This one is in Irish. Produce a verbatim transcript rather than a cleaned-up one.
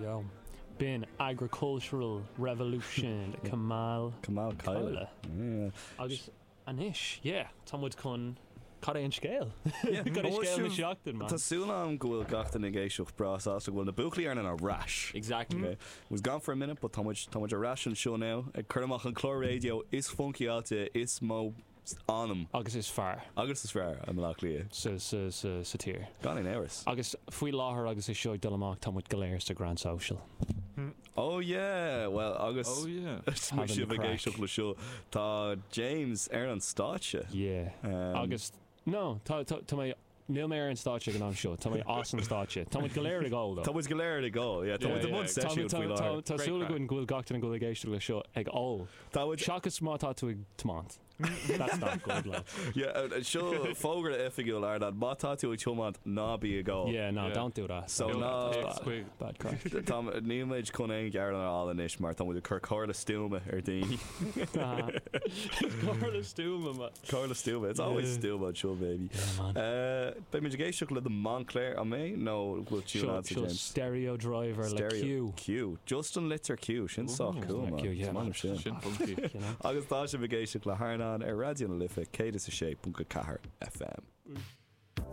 Yo. B'in Agricultural Revolution Kamal Kamal Kyla. Kyla. Agus anois, yeah, tá muid chun cad é an scéal? Cad é scéal na seachtaine, man? Tá súil agam go bhfuil gach duine ag éisteacht breá sásta go bhfuil na buachaillí ar ar ais. Exactly. Okay. Was gone for a minute, but tá muid tá muid ar ais anseo now ag cur amach an clár raidió is funkyáilte is mó anam Agus is fearr agus is fearr i mBaile Átha Cliath. sa, sa, sa, sa tír. Gan aon amhras. Agus faoi láthair agus é seo ag dul amach tá muid go léir sa Grand Social. Oh yeah, well agus Oh yeah. Having sibh ag craic. éisteacht le seo tá James ar an stáitse. Yeah. Um, Agus no, tá tá tá mé níl mé ar an stáitse ag an am seo, tá mé as an stáitse. Tá muid go léir ag ól Tá muid go léir ag ól, yeah, tá Yeah, muid i yeah. mbun Tá seisiún tá- faoi tá láthair. tá Great súil craic. againn go bhfuil gach duine go bhfuil ag éisteacht le seo ag ól. Tá muid Seachas má tá tú ag tiomáint. That's not good, lad. Yeah, uh, seo fógra oifigiúil ar má tá tú ag tiomáint ná bí ag ól. Yeah, no, Yeah. don't do that. So Kill ná- that takes quick. Bad craic. Tá níl chun aon gearán a fháil anois mar tá muid ag cur comhairle stuama ar daoine. Comhairle stuama, man. Comhairle stuama. It's always Yeah. stuama seo baby. Yeah, man. Uh, Beidh muid ag éisteacht le the Montclair an mé nó bhfuil tune Seo agat seo James. stereo driver le Stereo Q. Q. Just an litir Q sin sách Ooh. cool man. Q, yeah, Is man. maith sin. Sin funky. You know? Agus tá sibh ag éisteacht le hArnán ar Raidió na Life céad is a sé ponc ceathair FM.